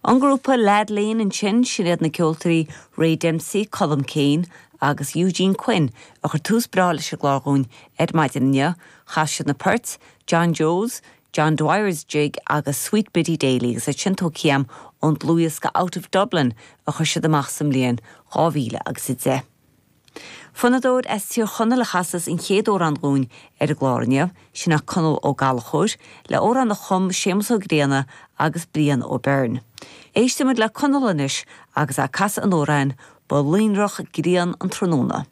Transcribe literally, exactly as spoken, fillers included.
An grúpa Lad Lane ansin sin iad na ceoltóirí Ray Dempsey, Colm Kane agus Eugene Quinn a chuir tús breá leis an gclár dhúinn ar maidin inniu, chas siad na poirt, John Joe's, John Dwyer's Jig agus Sweet Biddy Daly agus é sin tógtha ón dlúthdhiosca Out of Dublin a chuir siad amach sa mbliain dhá mhíle agus a deich. Fonnadóir as Tír Chonaill a chasas an chéad amhrán dhúinn ar an gclár inniu, sin é Conall Ó Gallchóir, le amhrán a chum Séamus Ó Grianna agus Brian Ó Beirn. Éistfimid le Conall anois agus é ag casadh an amhráin Ba lonrach grian an tráthnóna.